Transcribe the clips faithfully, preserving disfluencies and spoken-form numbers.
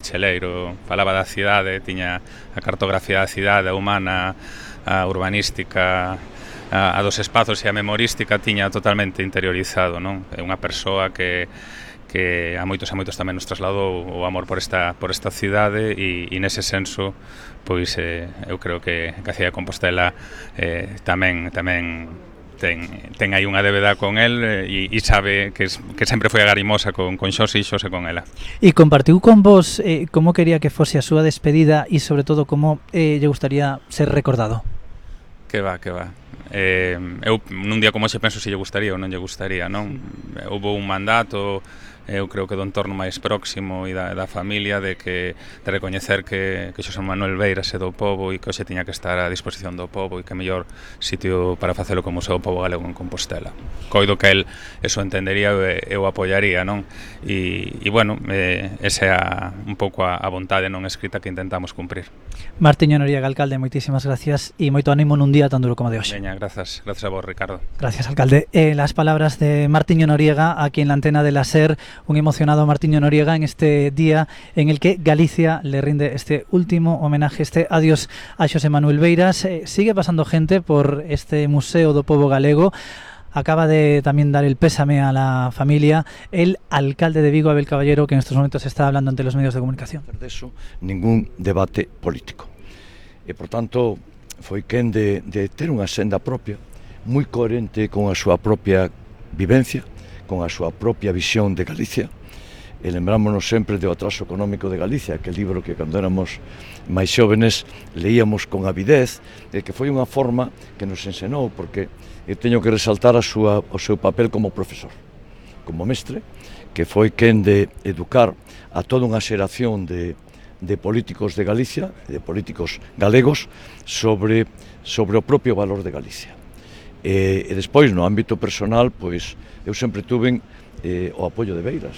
cheleiro, falaba da cidade, tiña a cartografía da cidade, a humana, a urbanística, a, a dos espazos e a memorística tiña totalmente interiorizado, non? É unha persoa que que a moitos e moitos tamén nos trasladou o amor por esta por esta cidade e, e nese senso pois eh, eu creo que a cidade de Compostela eh, tamén tamén ten, ten aí unha débeda con el e, e sabe que, es, que sempre foi agarimosa con, con Xose e Xose con ela. E compartiu con vos eh, como quería que fose a súa despedida e sobre todo como eh, lle gustaría ser recordado? Que va, que va. Eh, eu nun día como hoxe penso se lle gustaría ou non lle gustaría, non? Houve un mandato, eu creo que do entorno máis próximo e da, da familia de que de recoñecer que, que Xosé Manuel Beiras é do pobo e que hoxe tiña que estar a disposición do pobo e que mellor sitio para facelo como o seu pobo galego en Compostela. Coido que el eso entendería e eu apoiaría, non? E, e bueno, eh, esa é a, un pouco a, a vontade non escrita que intentamos cumprir. Martiño Noriega, alcalde, moitísimas gracias e moito ánimo nun día tan duro como de hoxe. Veña, grazas, grazas a vos, Ricardo. Gracias, alcalde. Eh, las palabras de Martiño Noriega aquí en la antena de la SER, un emocionado Martiño Noriega en este día en el que Galicia le rinde este último homenaje, este adiós a Xosé Manuel Beiras. Eh, sigue pasando gente por este Museo do Pobo Galego. Acaba de también dar el pésame a la familia el alcalde de Vigo, Abel Caballero, que en estos momentos está hablando ante los medios de comunicación. De eso, ningún debate político. E, por tanto, foi quen de, de ter unha senda propia, moi coherente con a súa propia vivencia, con a súa propia visión de Galicia. E lembrámonos sempre do atraso económico de Galicia, que libro que cando éramos máis xóvenes leíamos con avidez, e que foi unha forma que nos ensenou, porque eu teño que resaltar a súa, o seu papel como profesor, como mestre, que foi quen de educar a toda unha xeración de, de políticos de Galicia, de políticos galegos, sobre, sobre o propio valor de Galicia. E, e despois, no ámbito personal, pois, eu sempre tuve eh, o apoio de Beiras.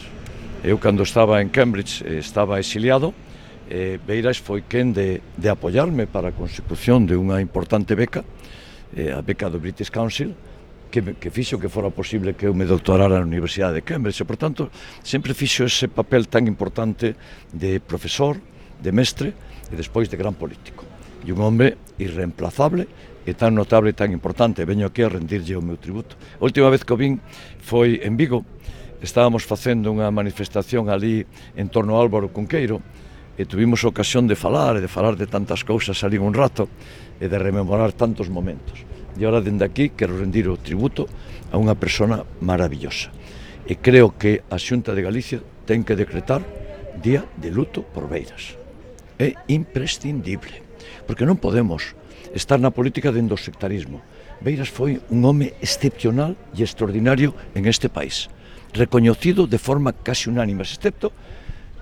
Eu, cando estaba en Cambridge, eh, estaba exiliado, eh, Beiras foi quen de, de apoiarme para a consecución de unha importante beca, eh, a beca do British Council, que, que fixo que fora posible que eu me doctorara na Universidade de Cambridge. E, por tanto, sempre fixo ese papel tan importante de profesor, de mestre e despois de gran político. E un hombre irreemplazable e tan notable e tan importante. Veño aquí a rendirlle o meu tributo. A última vez que o vin foi en Vigo. Estábamos facendo unha manifestación ali en torno ao Álvaro Cunqueiro e tuvimos ocasión de falar e de falar de tantas cousas ali un rato e de rememorar tantos momentos. E agora, dende aquí, quero rendir o tributo a unha persona maravillosa. E creo que a Xunta de Galicia ten que decretar día de luto por Beiras. É imprescindible, porque non podemos estar na política dentro do sectarismo. Beiras foi un home excepcional e extraordinario en este país, recoñecido de forma casi unánime, excepto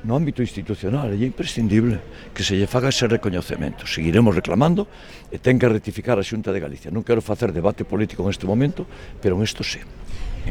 no ámbito institucional. É imprescindible que se lle faga ese recoñecemento. Seguiremos reclamando e ten que rectificar a Xunta de Galicia. Non quero facer debate político en este momento, pero en isto sí.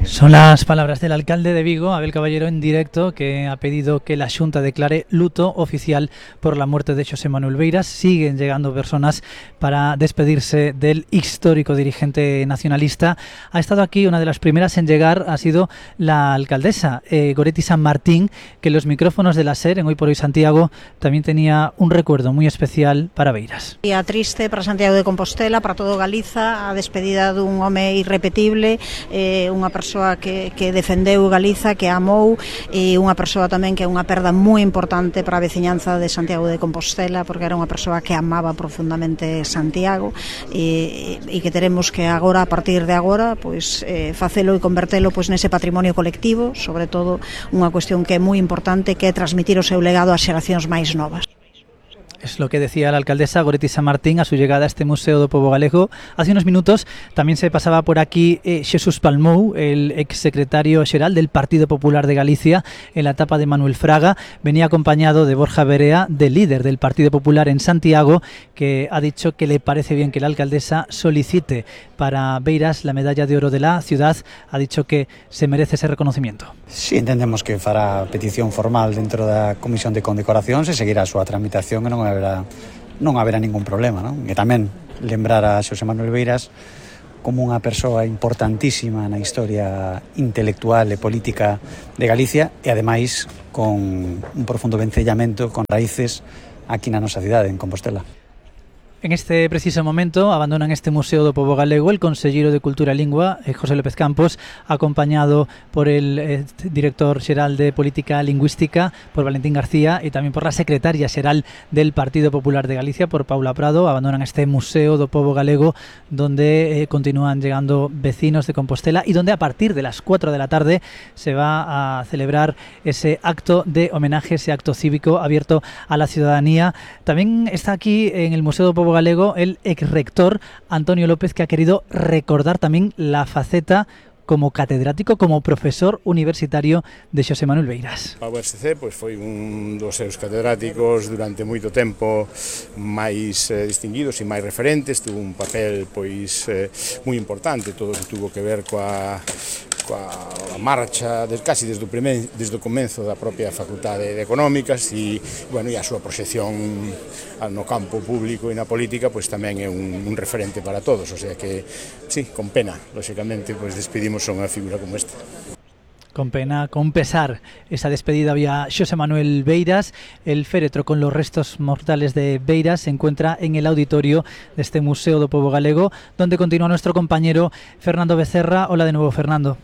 Son las palabras del alcalde de Vigo, Abel Caballero, en directo, que ha pedido que la Xunta declare luto oficial por la muerte de Xosé Manuel Beiras. Siguen llegando personas para despedirse del histórico dirigente nacionalista. Ha estado aquí, una de las primeras en llegar ha sido la alcaldesa, eh, Goretti San Martín, que en los micrófonos de la SER, en Hoy por Hoy Santiago, también tenía un recuerdo muy especial para Beiras. Día triste para Santiago de Compostela, para todo Galiza, a despedida dun home irrepetible, eh, unha persoa que, que defendeu Galiza, que amou, e unha persoa tamén que é unha perda moi importante para a veciñanza de Santiago de Compostela, porque era unha persoa que amaba profundamente Santiago e, e que teremos que agora, a partir de agora, pois, eh, facelo e convertelo pois, nese patrimonio colectivo, sobre todo unha cuestión que é moi importante, que é transmitir o seu legado ás xeracións máis novas. Es lo que decía la alcaldesa Goretti San Martín a su llegada a este Museo do Pobo Galego. Hace unos minutos también se pasaba por aquí eh, Xesús Palmou, el exsecretario xeral del Partido Popular de Galicia en la etapa de Manuel Fraga. Venía acompañado de Borja Berea, del líder del Partido Popular en Santiago, que ha dicho que le parece bien que la alcaldesa solicite para Beiras la medalla de oro de la ciudad. Ha dicho que se merece ese reconocimiento. Sí, entendemos que fará petición formal dentro da Comisión de Condecoracións e seguirá a súa tramitación e non haberá, non haberá ningún problema, non? E tamén lembrar a Xosé Manuel Beiras como unha persoa importantísima na historia intelectual e política de Galicia e ademais con un profundo vencellamento con raíces aquí na nosa cidade, en Compostela. En este preciso momento abandonan este Museo do Pobo Galego el conselleiro de Cultura e Lingua, José López Campos, acompañado por el eh, director xeral de Política Lingüística, por Valentín García, e tamén por la secretaria xeral del Partido Popular de Galicia, por Paula Prado. Abandonan este Museo do Pobo Galego, donde eh, continúan llegando vecinos de Compostela y donde a partir de las cuatro de la tarde se va a celebrar ese acto de homenaje, ese acto cívico abierto a la ciudadanía. También está aquí en el Museo do Pobo Galego el ex rector Antonio López, que ha querido recordar también la faceta como catedrático, como profesor universitario de Xosé Manuel Beiras. A U S C pois, foi un dos seus catedráticos durante moito tempo máis eh, distinguidos e máis referentes, tuvo un papel pois eh, moi importante, todo o que tuvo que ver coa coa marcha des, casi desde o, primer, desde o comenzo da propia Facultade de Económicas e, bueno, e a súa proxección no campo público e na política pois tamén é un, un referente para todos, o sea que, sí, con pena, lóxicamente, pois despedimos a unha figura como esta. Con pena, con pesar, esa despedida había Xosé Manuel Beiras. El féretro con los restos mortales de Beiras se encuentra en el auditorio de este Museo do Pobo Galego, donde continúa nuestro compañero Fernando Becerra. Hola de nuevo, Fernando.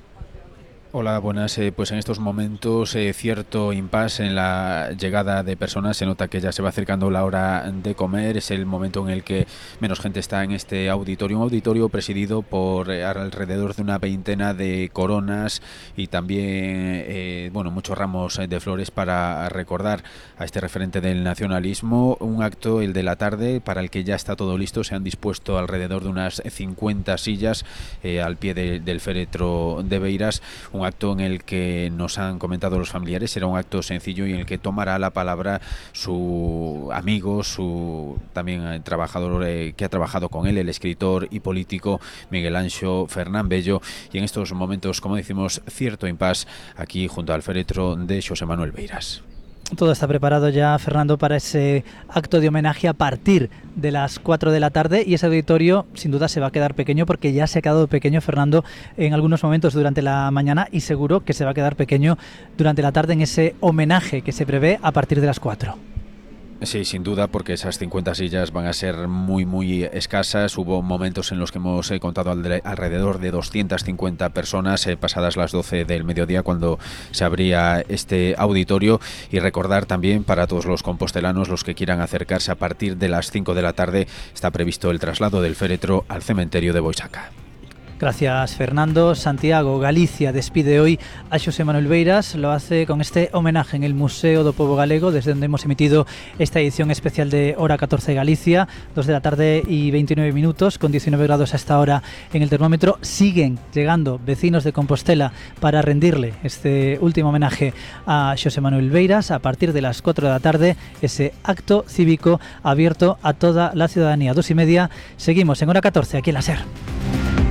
Hola, buenas. Eh, pues en estos momentos eh, cierto impasse en la llegada de personas. Se nota que ya se va acercando la hora de comer. Es el momento en el que menos gente está en este auditorio. Un auditorio presidido por eh, alrededor de una veintena de coronas y también eh, bueno, muchos ramos de flores para recordar a este referente del nacionalismo. Un acto, el de la tarde, para el que ya está todo listo. Se han dispuesto alrededor de unas cincuenta sillas eh, al pie de, del féretro de Beiras. Un acto en el que nos han comentado los familiares será un acto sencillo y en el que tomará la palabra su amigo, su también trabajador eh, que ha trabajado con él, el escritor y político Miguel Anxo Fernán Bello, y en estos momentos, como decimos, cierto impasse aquí junto al féretro de Xosé Manuel Beiras. Todo está preparado ya, Fernando, para ese acto de homenaje a partir de las cuatro de la tarde, y ese auditorio sin duda se va a quedar pequeño, porque ya se ha quedado pequeño, Fernando, en algunos momentos durante la mañana, y seguro que se va a quedar pequeño durante la tarde en ese homenaje que se prevé a partir de las cuatro. Sí, sin duda, porque esas cincuenta sillas van a ser muy, muy escasas. Hubo momentos en los que hemos eh, contado alrededor de doscientas cincuenta personas eh, pasadas las doce del mediodía cuando se abría este auditorio. Y recordar también para todos los compostelanos, los que quieran acercarse, a partir de las cinco de la tarde está previsto el traslado del féretro al cementerio de Boisaca. Gracias, Fernando. Santiago, Galicia despide hoy a Xosé Manuel Beiras. Lo hace con este homenaje en el Museo do Pobo Galego, desde donde hemos emitido esta edición especial de Hora catorce Galicia. dos de la tarde y veintinueve minutos, con diecinueve grados hasta ahora en el termómetro. Siguen llegando vecinos de Compostela para rendirle este último homenaje a Xosé Manuel Beiras. A partir de las cuatro de la tarde, ese acto cívico abierto a toda la ciudadanía. Dos y media, seguimos en Hora catorce, aquí en la SER.